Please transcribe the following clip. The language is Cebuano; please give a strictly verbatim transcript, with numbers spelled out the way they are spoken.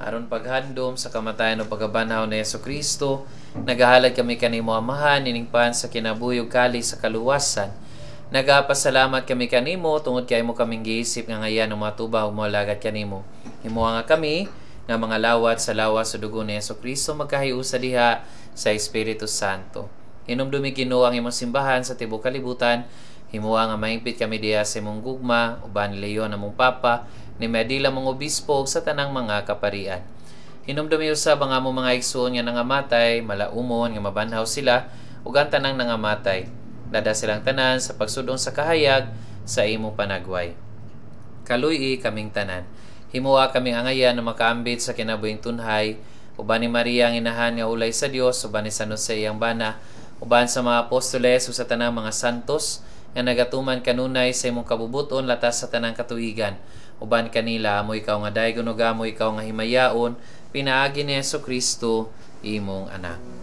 Aron paghandom sa kamatayon ug pagkabanhaw ni Hesus Kristo, nagahalad kami kanimo, Amahan, ining pan sa kinabuhi ug kalis sa kaluwasan. Nagapasalamat kami kanimo tungod kay imo kaming giisip nga angayan ug matubang ug moalagad kanimo. Himoa nga kami nga mga lawat sa lawas ug dugo ni Hesus Kristo magkahiusa diha sa Espiritu Santo. Hinumdumi, Ginoo, ang imong simbahan sa tibuok kalibutan. Himoa nga mahingpit kami diha sa imong gugma uban ni Leon among Papa, ni Medila mong obispo ug sa tanang mga kaparian. Hinumdumi usab ang among mga igsoon nga nangamatay, malaumon nga mabanhaw sila ug ang tanang nangamatay. Lad-a silang tanan sa pagsud-ong sa kahayag sa imong panagway. Kaluy-i kaming tanan. Himoa kami angayan na makaambit sa kinabuhing tunhay uban ni Maria ang inahan nga ulay sa Dios, uban ni San Jose iyang bana, uban sa mga apostoles ug sa tanang mga santos nga nagatuman kanunay sa imong kabubut-on latas sa tanang katuigan. Uban kanila amo ikaw nga daygon ug amo ikaw nga himayaon pinaagi ni Hesus Kristo, imong anak.